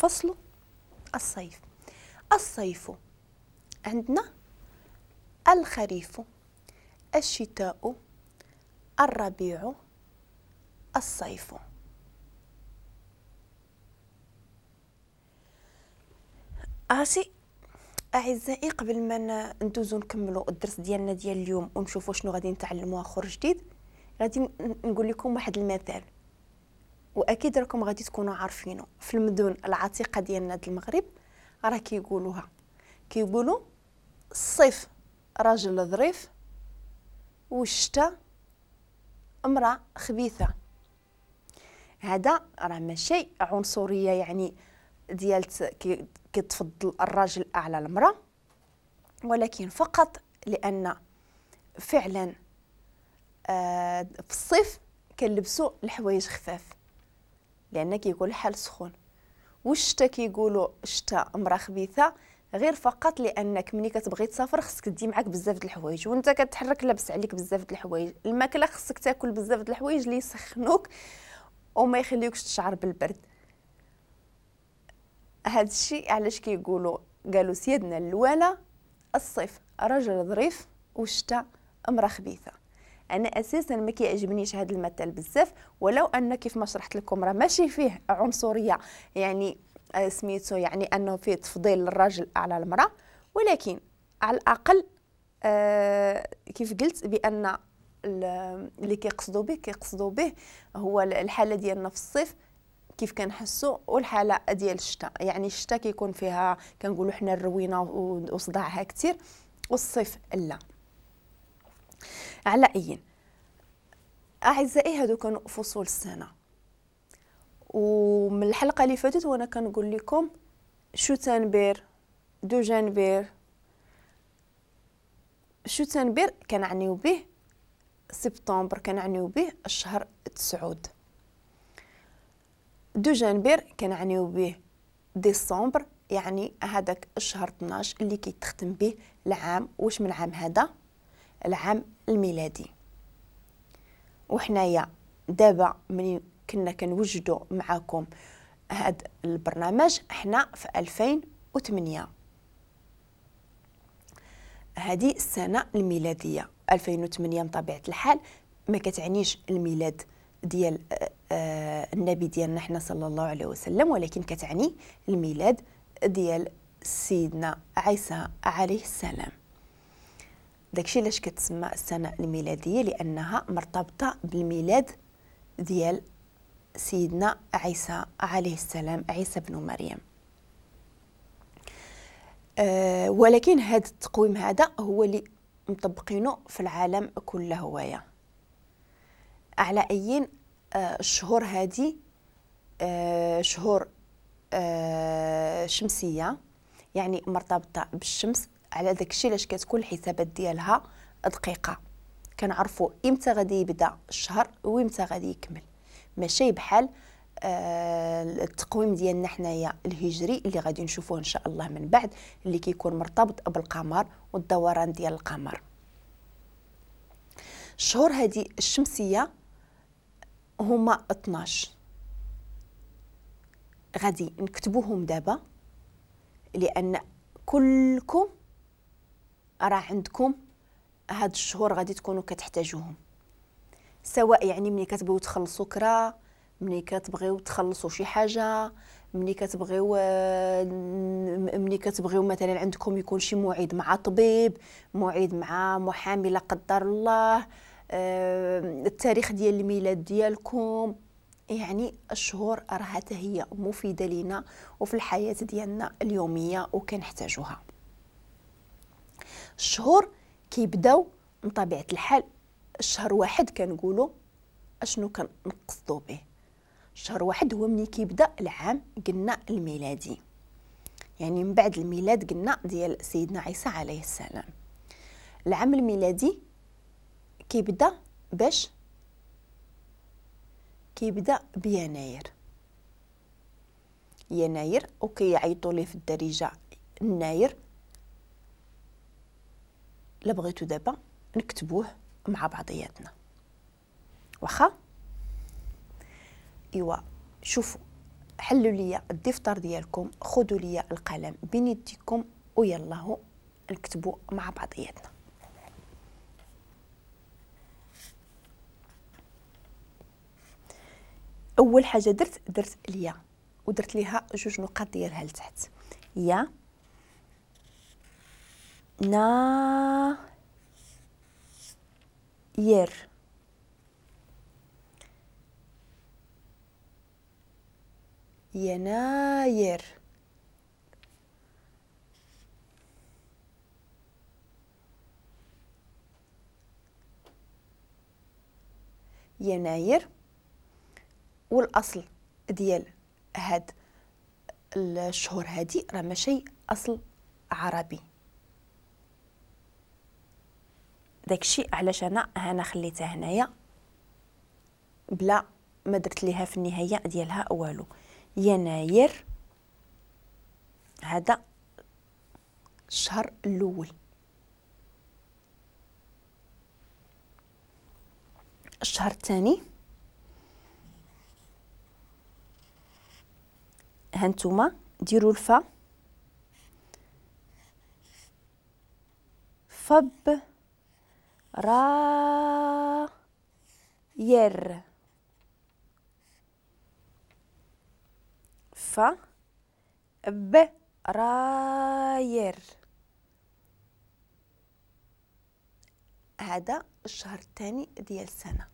فصل الصيف. الصيف عندنا الخريف، الشتاء، الربيع، الصيف. عرفتي اعزائي، قبل ما ندوزو نكملوا الدرس ديالنا ديال اليوم ونشوفوا شنو غادي نتعلموا اخر جديد، غادي نقول لكم واحد المثال واكيد راكم غادي تكونوا عارفينه. في المدن العتيقة ديالنا د المغرب راه كيقولوها، كيقولوا الصيف راجل ظريف والشتاء امراة خبيثة. هذا راه ماشي عنصرية يعني ديال كتفضل الراجل على المراة، ولكن فقط لان فعلا في الصيف كنلبسوا الحوايج خفاف لان كيكون الحال سخون، والشتا كيقولوا الشتا امراة خبيثة غير فقط لانك ملي كتبغي تسافر خصك تدي معاك بزاف د الحوايج، وانت كتحرك لابس عليك بزاف د الحوايج، الماكلة خصك تاكل بزاف د الحوايج اللي يسخنوك وما يخليوكش تشعر بالبرد. هذا الشيء علاش كيقولوا، قالوا سيدنا الوالا الصيف رجل ظريف والشتاء امراة خبيثة. انا اساسا ما كيعجبنيش هذا المثل بزاف، ولو ان كيف ما شرحت لكم راه ماشي فيه عنصرية يعني سميتو يعني انه فيه تفضيل الراجل على المراة، ولكن على الاقل كيف قلت بان اللي كيقصدوا به هو الحالة ديالنا في الصيف كيف كنحسوا والحالة ديال الشتاء. يعني الشتاء كيكون فيها كنقولوا حنا الروينه وصداعها كثير، والصيف لا. على اي اعزائي، هادو كانوا فصول السنة. ومن الحلقة اللي فاتت وانا كنقول لكم شتنبر، دوجنبر. شتنبر كنعنيو به سبتمبر، كنعنيو به الشهر 9. دوجنبر كنعنيو به ديسمبر، يعني هذاك الشهر 12 اللي كيتختم به العام. واش من عام هذا؟ العام الميلادي. وحنايا دابا من كنا كنوجدوا معاكم هذا البرنامج احنا في 2008، هذه السنة الميلادية 2008. بطبيعة الحال ما كتعنيش الميلاد ديال النبي ديالنا حنا صلى الله عليه وسلم، ولكن كتعني الميلاد ديال سيدنا عيسى عليه السلام. داكشي علاش كتسمى السنة الميلادية، لأنها مرتبطة بالميلاد ديال سيدنا عيسى عليه السلام، عيسى بن مريم. ولكن هذا التقويم هذا هو اللي مطبقينه في العالم كله هوايا. على أي الشهور هذه شهور شمسية، يعني مرتبطة بالشمس. على داكشي علاش كتكون الحسابات ديالها دقيقة، كنعرفوا امتى غادي يبدا الشهر وامتى غادي يكمل، ماشي بحال التقويم ديالنا حنايا الهجري اللي غادي نشوفوه ان شاء الله من بعد، اللي كيكون مرتبط بالقمر والدوران ديال القمر. الشهور هذه الشمسية هما 12، غادي نكتبوهم دابا لان كلكم راه عندكم هاد الشهور غادي تكونوا كتحتاجوهم، سواء يعني ملي كتبغيو تخلصوا كرا، ملي كتبغيو تخلصوا شي حاجة، ملي كتبغيو مثلا عندكم يكون شي موعد مع طبيب، موعد مع محامي لا قدر الله، التاريخ ديال الميلاد ديالكم. يعني الشهور راها حتى هي مفيدة لينا وفي الحياة ديالنا اليومية وكنحتاجوها. الشهور كيبداو من طبيعة الحال الشهر واحد كنقولوا اشنو كنقصدوا به. شهر واحد هو ملي كيبدا العام قلنا الميلادي، يعني من بعد الميلاد قلنا ديال سيدنا عيسى عليه السلام. العام الميلادي كيبدا باش كيبدا بيناير، يناير، وكيعيطوا ليه في الدارجة الناير. لا بغيتو دابا نكتبوه مع بعضياتنا، واخا؟ ايوا شوفوا، حلوا لي الدفتر ديالكم، خذوا لي القلم بين يديكم ويلاه نكتبوا مع بعضياتنا. اول حاجة درت اليا ودرت ليها جوج نقاط ديالها لتحت. يا نا ير، يناير. يناير. والاصل ديال هاد الشهور هادي راه ماشي اصل عربي، داكشي علاش انا هنا خليتها هنايا بلا ما درت ليها في النهاية ديالها والو. يناير هذا الشهر الاول. الشهر الثاني هانتوما ديروا الفا فب را ير، ف ب راير. هذا الشهر الثاني ديال السنة.